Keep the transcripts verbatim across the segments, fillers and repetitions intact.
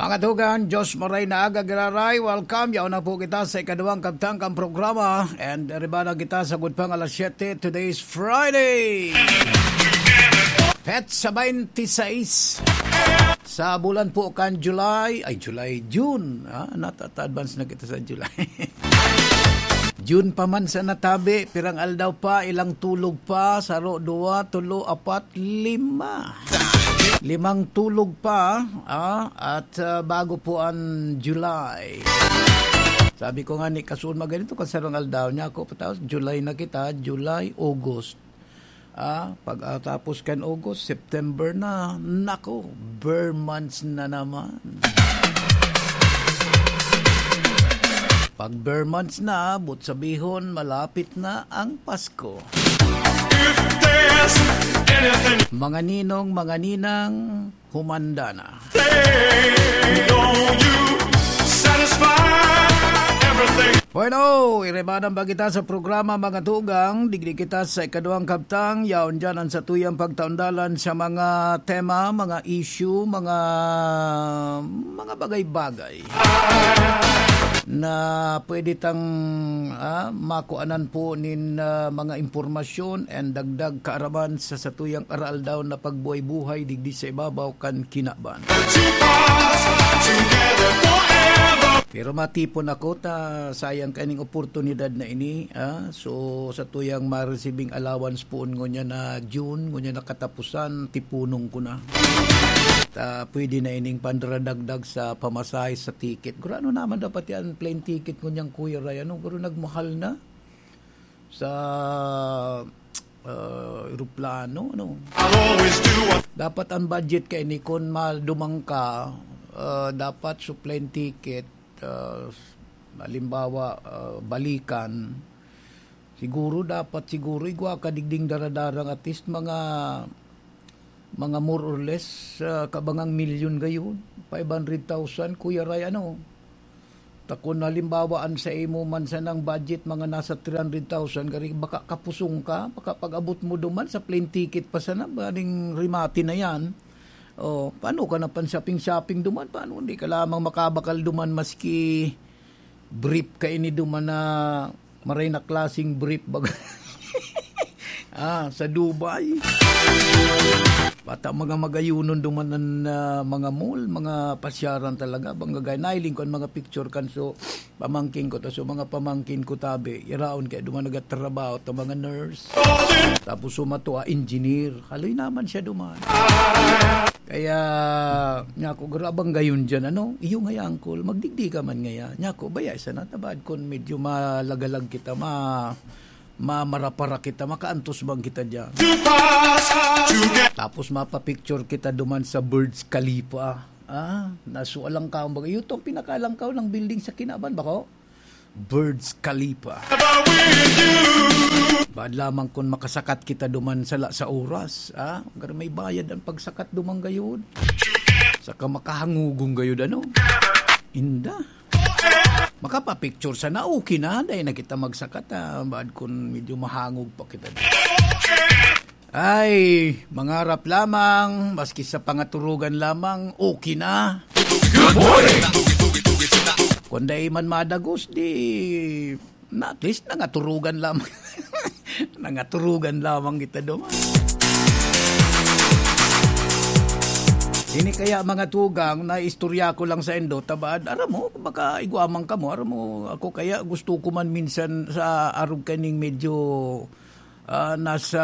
Mga tugang, Diyos maray na aga, giraray. Welcome. Yaon na po kita sa ikaduwang kabtang kan programa. And riba na kita sagkod pang alas siyete. Today is Friday. Petsa twenty-six. Sa bulan po kan July, ay, July, June. Ah, natata-advance na kita sa July. June pa man sa natabi, pirang aldaw pa, ilang tulog pa, saro, duwa, tulo, apat, lima. Limang tulog pa, ah, at, ah, bago po ang July. Sabi ko nga ni Kasun, maganito kan sarong aldaw niya ako, tapos July na kita, July, August. Ah, pagkatapos kan August, September na. Nako, ber months na naman. Pag ber months na, but sabihon, malapit na ang Pasko. If there's anything Mga ninong, mga ninang, humanda na. Satisfy everything. Bueno, iribanan ba kita sa programa, mga tugang? Digdi kita sa ikaduwang kabtang. Yaon dyan ang satuyang pagtaundalan sa mga tema, mga issue, mga, mga bagay-bagay na pwede tang, ah, makuanan po nin, ah, mga impormasyon and dagdag kaaraman sa satuyang araaldaw na pagbuhay-buhay digdi sa ibabaw kan kinaban. Pero matipon ako ta sayang kaining oportunidad na ini, ah. So, satuyang ma-receiving allowance poon ngunyan na June, ngunyan na katapusan, tipunon ko na. Ta pwede na ining pandaradagdag sa pamasahe sa ticket. Gurano naman dapat yan, plane ticket ngunyan, Kuya Ray, ano? Guro nagmahal na sa, ah, eroplano, ano? Dapat ang budget kaini, kun madumang ka, ah, dapat sa plane ticket, ah, halimbawa, ah, balikan, siguro dapat, siguro igwa ka digding daradarang at least mga, mga more or less, ah, kabangang milyon gayon, five hundred thousand, Kuya Ray, ano? Ta kun halimbawa, an sa imo man sanang budget, mga nasa three hundred thousand, gari baka kapusong ka, baka pag-abot mo duman sa plane ticket pa sana, baning remate na yan. O, paano ka na pan-shopping-shopping duman? Paano hindi ka lamang makabakal duman maski brief kaini duman na maray na klaseng brief baga? Ah, sa Dubai. Bata mga magayunon duman an, ah, mga mall, mga pasyaran talaga. Bangga gaya, nailing ko an mga picture kan so pamangkin ko. Ta so mga pamangkin ko tabi, iraon kaya duman nagatrabaho ta mga nurse. Tapos sumato, ah, engineer. Haloy naman siya duman. Kaya, niya ako, "Garo, abang gayon dyan, ano? Iyo ngaya, uncle, magdigdi ka man ngaya." Niya ako, "Baya, isa na, tabad kun medyo malagalag kita, ma-, mamarapara kita, makaantos bang kita dyan?" Tapos mapapicture kita duman sa Burj Khalifa. Ah, nasu alangkaw, baga, "Iyo tong pinakalangkaw ng building sa kinaban, bako?" Burj Khalifa. Baad lamang kun makasakat kita duman sala sa oras, ah? Gar may bayad ang pagsakat duman gayud. Saka makahangugong gayud, ano? Inda. Makapapicture sana, okay na. Dahil na kita magsakat, ah. Baad kun medyo mahangog pa kita. Ay, mangarap lamang, maski sa pangaturugan lamang, okay na. Good morning! Kung dai man madagos, di, na at least nangaturugan lamang. Nangaturugan lamang kita duman. Ini kaya, mga tugang, na istorya ko lang sa indo, tabad, aram mo, baka igwa man kamo, aram mo, ako kaya gusto ko man minsan sa arog kaning medyo ah, nasa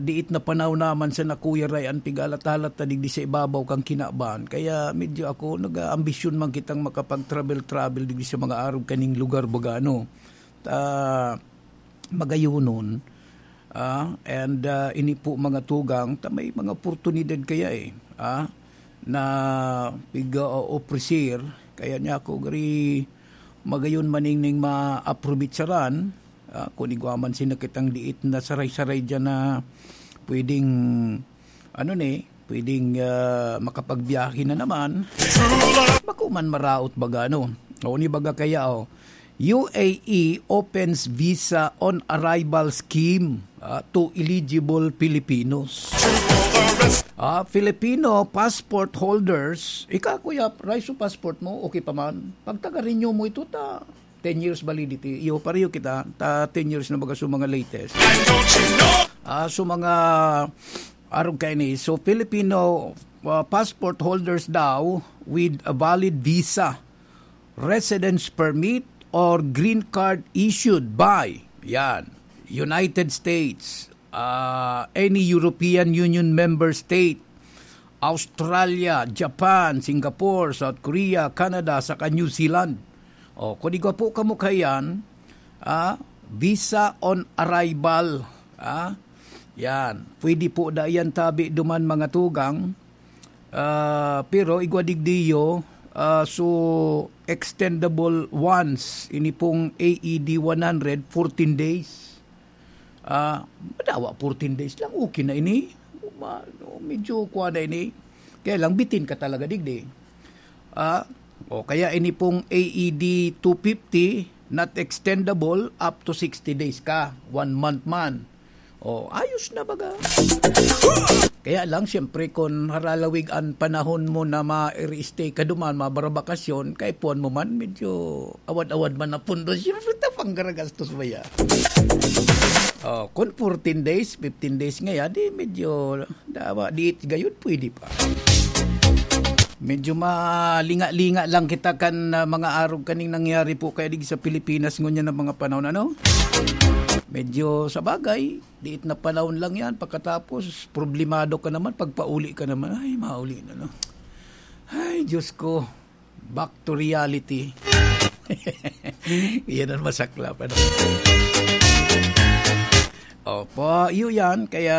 diit na panaw naman sa nakuyaray an pigalat-halat na digdi sa ibabaw kan kinaban. Kaya medyo ako, nag-aambisyon man kitang makapag-travel-travel digdi sa mga arog kaning lugar, baga, ano. Ta, magayunon. Ah, and, ah, ini po mga tugang, ta may mga oportunidad kaya, eh, ah, na piga-ofrecer. Kaya niya ako, gari, magayon maningning maaprobitsaran, ah, kun igwa man sina kitang diit na saray-saray diyan na pwedeng, ano ni, pwedeng, ah, makapagbiyahe na naman. Bako man maraot baga, no? O, ni baga kaya, oh, U A E opens visa on arrival scheme, ah, to eligible Filipinos. Ah, Filipino passport holders, ika, Kuya Ray, so passport mo, okay pa man. Pag taga-renew mo ito, ta ten years validity, iyo, pareho kita, ta ten years na baga so mga latest. Ah, so mga arog kaini, so Filipino, ah, passport holders daw with a valid visa, residence permit, or green card issued by, yan, United States, ah, any European Union member state, Australia, Japan, Singapore, South Korea, Canada, saka New Zealand. O, kung igwa po kamo kaiyan, ah, visa on arrival, ah, yan. Pwede po da yan tabi duman, mga tugang. Ah, pero igwa digdiyo, ah, so extendable once, ini pong A E D one hundred, fourteen days. Ah, madawa fourteen days lang, okay na ini. Ma-, no, medyo kuha na ini. Kaya lang, bitin ka talaga digdi. Ah, o kaya ini pong A E D two fifty, not extendable, up to sixty days ka, one month man. O, ayos na baga. Kaya lang, siyempre, kung haralawig an panahon mo na ma-stay ka duman, mabarabakasyon, kay puan mo man, medyo awad-awad man na pundo. Siyempre, ta panggaragastos ba ya? O, kung fourteen days, fifteen days ngaya, di medyo, dawa, diit gayon, pwede pa. Medyo malinga-linga lang kita kan, ah, mga arog kaning nangyari po kaya digdi sa Pilipinas ngunyan na mga panahon, ano? Medyo sa bagay, diit na panahon lang yan. Pagkatapos, problemado ka naman, pagpauli ka naman, ay, mauli na, no? Ay, Diyos ko, back to reality. Yan ang masaklap, ano? Opo, iyo yan. Kaya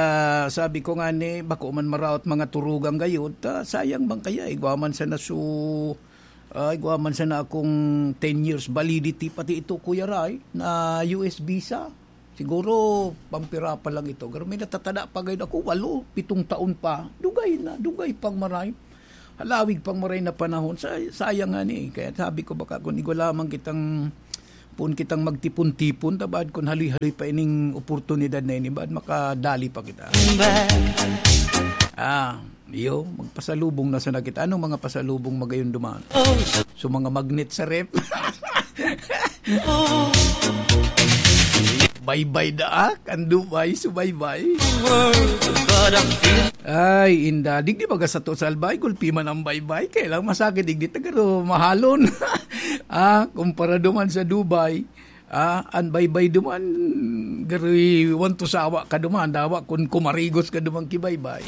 sabi ko nga ni, bako man maraot mga turugang gayod, ta, sayang bang kaya, igwa man sana su-, ah, igwa man sana akong ten years validity, pati ito, Kuya Ray, na U S visa. Siguro, pampira pa lang ito. Pero may natatada pa gayod ako, walo, pitong taon pa. Dugay na, dugay pang maray. Halawig pang maray na panahon. Sa-, sayang nga ni. Kaya sabi ko, baka kung igwa lamang kitang, pun kitang magtipon-tipon, ta baad kung haloy-haloy pa ining oportunidad na ini, baad makadali pa kita. Ah, iyo, magpasalubong na sana kita. Anong mga pasalubong magayon duman? So, mga magnet sa ref. Baybay daak, ang Dubai, subaybay. Ay, inda. Digdi baga sato sa Albay, gulpi man ang baybay. Kaya lang masakit, digdi ta garo mahalon. Ah, kumpara duman sa Dubai, ah, ang baybay duman, garo want to sawa ka duman, dawa kun kumarigos ka duman ki baybay.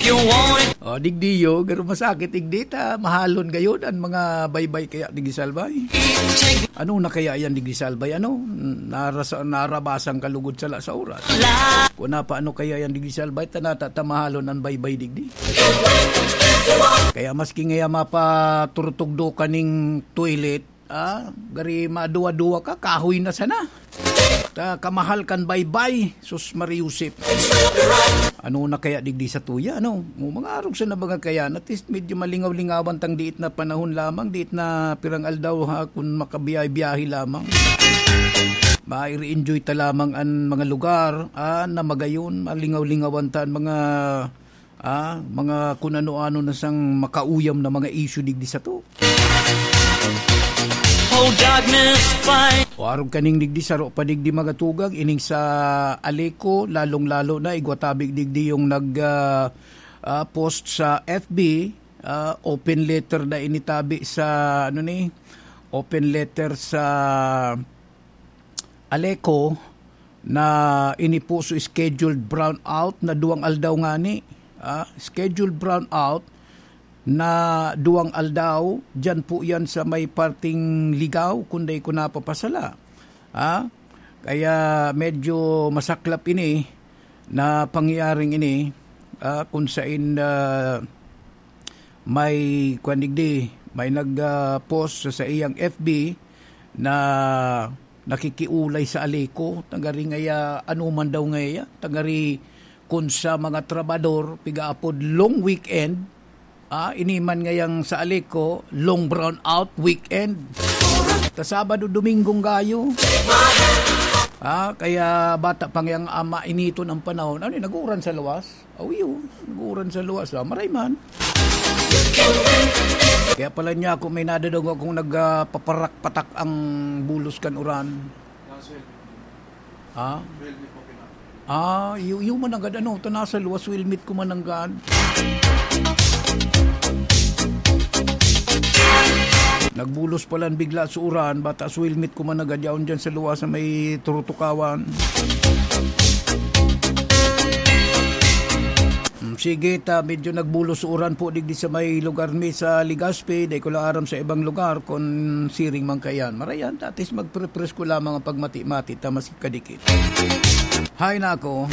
O, digdi yo, garo masakit, digdi ta, mahalon gayod ang mga baybay kaya digdi sa Albay. Ano na kaya yan digdi sa Albay? Ano? Narasa-, narabasan ka lugod sala sa oras. Kung napa, ano kaya yan digdi sa Albay? Tanata, tamahalon ang baybay digdi. Kaya maski ngaya mapaturutugdo ka ning toilet, ah, gari maduwa-duwa ka, kahoy na sana. Ta, kamahal kan baybay, sus, Mariusip. Ano na kaya digdi sa tuya, ano? Mo mga arog sa nabangan kaya, at least medyo malingaw-lingawan tang diit na panahon lamang, diit na pirang aldaw ha, kung makabiyahe-biyahe lamang. Maire-enjoy ta lamang an mga lugar, ah, na magayon, malingaw-lingawan ta an mga, ah, mga kun ano-ano na sang makauyam na mga issue digdi sato. Oh, darkness, fight. O arog kaning digdi, saro pa digdi magatugang, ining sa Aleco, lalong-lalo na, igwa tabi digdi yung nag, ah, ah, post sa F B, ah, open letter na initabi sa, ano ni, open letter sa Aleco na ini po so scheduled brownout na duwang aldaw ngani. Ah, scheduled brownout na duwang aldaw, diyan po yan sa may parting Ligao, kung dai ko napapasala. Ah, kaya medyo masaklap ini na pangyayaring ini, ah, kung sain, ah, may, kwan digdi, may nag, ah, post sa, sa iyang F B na nakikiulay sa Aleco, tagari ngaya, ano man daw ngaya, tagari kun sa mga trabador, pigaapod long weekend, ah, ini man ngayang sa Aleco, long brown out weekend. Ta Sabado, Domingong gayo. Ah, kaya bata pa ngayang ama, initon ang panahon. Ano yun, nag-uuran sa luwas? Oh, yun, nag-uuran sa luwas. Ah, maray man. Kaya pala niya ako, may nadadog akong nagpaparak-patak ang bulos kan uran. Ha? Ah, yu-, yu mananggad, ano, ta nasa luwas, swelmit ko mananggad. Nagbulos palan bigla sa uran, bata swelmit ko mananggad, yaon dyan sa luwas na may turutukawan. Hmm, sige, ta, medyo nagbulos sa uran po digdi sa may lugar mi sa Legazpi, dai ko lang aram sa ibang lugar kung siring man kayan. Marayan, tatis magprepresko lamang ang pagmati-mati, ta mas kadikit. Hay nako.